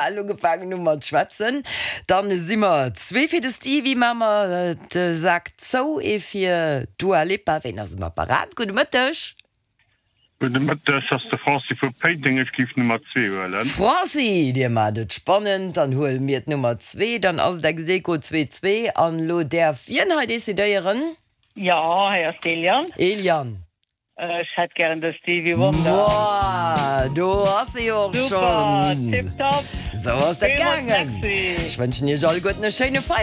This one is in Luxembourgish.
Bal ugefaangen hu mat schwätzen. Dann si mer zwee fir de Stevie, maache mer de Sak zou, ee fir d'Dua Lipa. Ween ass um Apparat? Gudde Mëtteg. Gudde Mëtteg, ass de Franci vu Péiteng. Ech géif d'Nummer zwee huelen. Franci, dir maacht et spannend, dann huele mir d'Nummer zwee. Dann ass et ex aequo 2, 2. An elo däerf wien hei decidéieren? Jo, hei ass d'Eliane. Eliane. Ech hätt gären de Stevie Wonder. Woah, do ass e jo och Super, schonn. tiptop. Sou ass dat Villmools gaangen. Merci. Ech wënschen iech alleguerten e schéine Feierdag.